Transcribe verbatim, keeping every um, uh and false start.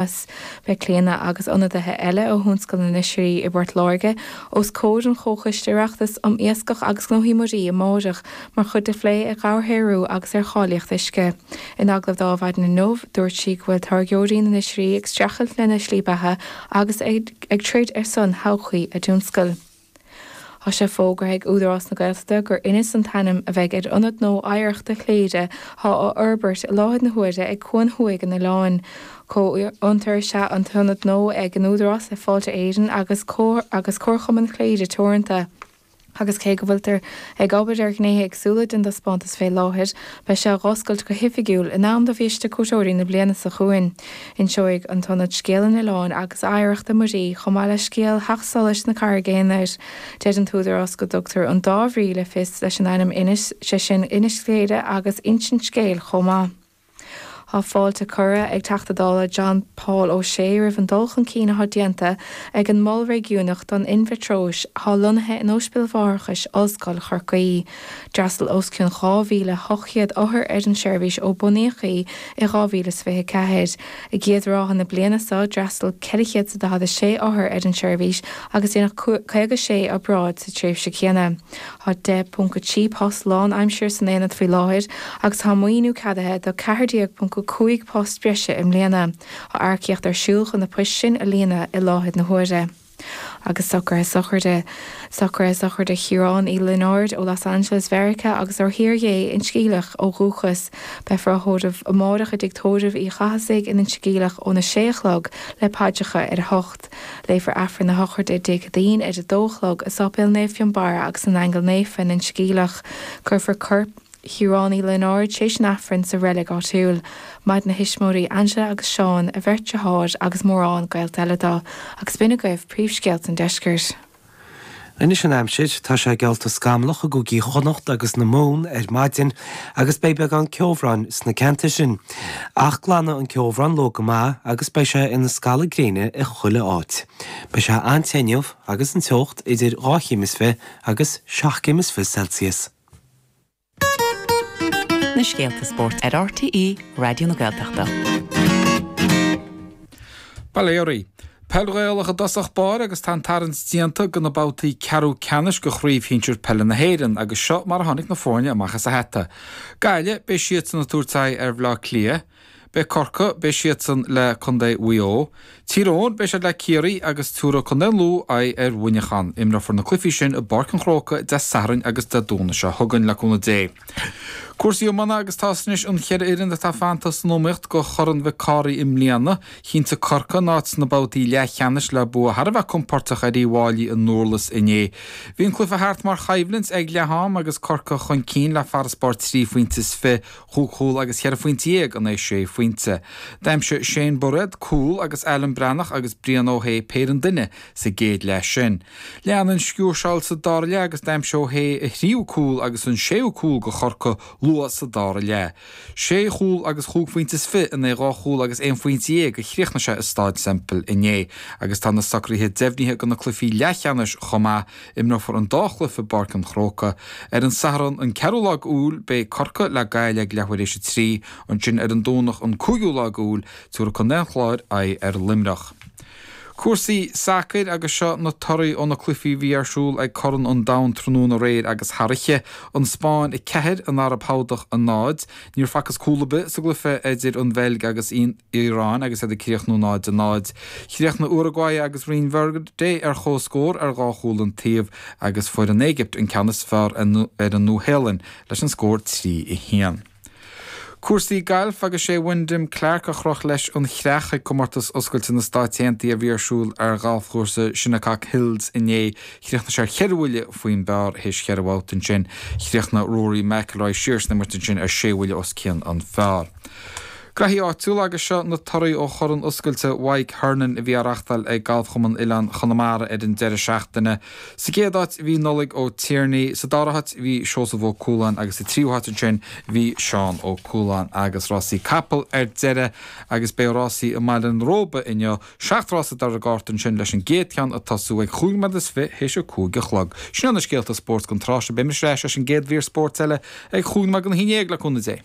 Beidh Clíona agus ionadaithe eile ó thionscal na n-oisrí i bPort Láirge os comhair an Chomhchoiste Oireachtais um Iascach agus Gnóthaí Muirí amárach mar chuid de phlé ar dhobharshaothrú agus ar cháilíocht uisce. In agallamh dá mhaidin inniu, dúirt sí go bhfuil táirgeoirí na n-oisrí ag streachailt lena slí beatha agus ag troid ar son thodhchaí a dtionscail. Tá sé fógartha ag Údarás na Gaeltachta gur Inis an t-ainm a bheidh ar ionad nua oidhreachta Chléire atá á fhorbairt i láthair na huaire ag Cuan Thuaidh an oileáin. Comhfhiontar is ea an t-ionad nua ag an Údarás le Fáilte Éireann agus agus Comharchumann Chléire Teoranta. Agus cé go bhfuiltear ag obair ar ghnéithe éagsúla den taispeántas fé láthair, beidh sé á oscailt go hoifigiúil in am do bhiaiste cuairteoirí na bliana seo chugainn. Inseoidh an t-ionad scéal an oileáin agus oidhreachta muirí chomh maith le scéal theacht solais na Carraige Aonair. Deir an t-údarás go dtugtar an dá bhrí le fios leis an ainm Inis, sé sin Inis Chléire agus insint scéil chomh maith. Tá fáilte curtha ag Teachta Dála John Paul O'Shea roimh an dul chun cinn atá déanta ag an Mol Réigiúnach don Inmhitreois atá lonnaithe in Ospidéal Mháithreachais Ollscoil Chorcaí. D'fhreastail os cionn dhá mhíle ocht gcéad othar ar an seirbhís ó bunaíodh í i dhá mhíle is fiche ceathair. I gcéad ráithe na bliana seo d'fhreastail ceithre chéad is daichead a sé othar ar an seirbhís agus déanadh caoga sé obráid sa tréimhse chéanna. Tá deich ponc a trí post lánaimseartha san aonad faoi láthair agus tá maoiniú ceadaithe do ceathair déag ponc cúig post breise i mbliana. Tá earcaíocht ar siúl chun na poist sin a líonadh i láthair na huaire. Agus socruithe sochraide Socruithe sochraide Chiaráin Uí Lionáird ó Los Angeles Mheiriceá agus ó Thír Dhé Inse Geimhleach ó dhúchas. Beifear á thórramh amárach i dTigh Tórraimh Uí Chathasaigh in Inse Geimhleach óna sé a chlog le paidreacha ar a hocht. Léifear Aifreann na sochraide Dé Céadaoin ar a dó a chlog i Sáipéal Naomh Fionnbarra agus na nAingeal Naofa in Inse Geimhleach. Cuirfear corp Chiaráin Uí Lionáird tar éis an Aifrinn sa reilig áitiúil. Maireann a thuismitheoirí Angela agus Seán, a bheirt deartháir agus mórán gaolta eile dó, agus b'in agaibh príomhscéalta an deiscirt. Anois an aimsir, tá sé geallta scamallach i gcúigí Chonnacht agus na Mumhan ar maidin agus beidh beagán ceobhráin sna ceantair sin. Ach glanfaidh an ceobhrán leo go maith agus beidh sé ina scalladh gréine i chuile áit. Beidh sé an-te inniu agus an teocht idir dhá chéim is fiche agus seacht gcéim is fiche Celsius. Na scéalta spóirt ar RTÉ Raidió na Gaeltachta. Bail ó Dhia oraibh. Peil Ghaelach i dtosach báire agus tá an tarraingt déanta do na babhtaí ceathrú ceannais de Chraobh Shinsir Peile na hÉireann agus seo mar a tháinig na foirne amach as a hata. Gaillimh, beidh siadsan ag tabhairt aghaidh ar Bhaile Átha Cliath. Beidh Corcaigh, beidh siadsan le Contae Mhaigh Eo. Tír Eoghain, beidh siad le Ciarraí agus tabharfaidh Contae an Lú aghaidh ar Mhuineachán. Imreofar na cluichí sin i bPáirc an Chrócaigh Dé Sathairn agus Dé Domhnaigh seo chugainn, le cúnamh Dé. Cúrsaí iomána agus tá anois an cheithre fhoireann atá fanta san iomaíocht do Chorn Mhic Cárthaigh i mbliana. Chinntigh Corcaigh a n-áit sna babhtaí leathcheannais le bua thar a bheith compordach ar Uíbh Fhailí i nDurlas inné. Bhí an cluiche thart mar choimhlint ag leath-am agus Corcaigh chun cinn le farasbarr trí phointe is fiche, chúig chúl agus cheithre phointe dhéag in aghaidh sé phointe. D'aimsigh Shane Bairéad cúl agus Alan Breathnach agus Brian Ó hAodha péire an duine sa gcéad leath sin. Lean an sciúrsáil sa dara leath agus d'aimsigh Ó hAodha a thríú cúl agus an séú cúl do Chorcaigh luath sa dara leath. Sé chúl agus chúig phointe is fiche in aghaidh dhá chúl agus aon phointe dhéag a chríochnaigh sé i Staid Semple inné agus tá na socruithe deimhnithe do na cluichí leathcheannais chomh maith. Imreofar an dá chluiche i bPáirc an Chrócaigh. Ar an Satharn an ceathrú lá d'Iúil beidh Corcaigh le Gaillimh ag leathuair théis a trí, ansin ar an Domhnach an cúigiú lá d'Iúil tabharfaidh Contae an Chláir aghaidh ar Luimneach. Cúrsaí sacair agus seo na torthaí ó na cluichí a bhí ar siúl ag Corn an Domhain tráthnóna aréir agus thar oíche. An Spáinn a ceathair, an Araib Shádach a náid. Níor facthas cúl ar bith sa gcluiche idir an Bheilg agus Iaráin agus iad ag críochnú náid a náid. Chríochnaigh Uruguay agus Rinn Verde ar comhscór ar dhá chúl an taobh agus fuair an Éigipt an ceann is fearr ar an Nua-Shéalainn leis an scór trí a haon. Cúrsaí gailf agus sé Wyndham Clark a chroch leis an chreach ag Comórtas Oscailte na Stáit Aontaithe a bhí ar siúl ar ghalfchúrsa Shinnecock Hills inné. Chríochnaigh sé ar cheithre bhuille faoin bpar théis cheithre bhabhta ansin. Chríochnaigh Rory McIlroy siar san imirt ansin ar sé bhuille os cionn an phar. Graithí áitiúla agus seo na torthaí ó Chorn Oscailte Mhaidhc Hernon a bhí á reáchtáil ag Galfchumann Oileán Chonamara ar an deireadh seachtaine. Sa gcéad áit bhí Nollaig Ó Tiarnaigh, sa dara háit bhí Seosamh Ó Cualáin agus sa tríú háit ansin bhí Seán Ó Cualáin. Agus rásaí capall ar deireadh agus beidh rásaí i mBaile an Róba inniu, seacht rása ar an gcárta ansin leis an gcéad cheann ag tosú ag chúig nóiméad is fiche théis a cúig a chlog. Sin iad na scéalta spóirt don tráth seo. Beidh mise ar ais leis an gcéad mhír spóirt eile ag chúig nóiméad don haon déag le cúnamh Dé.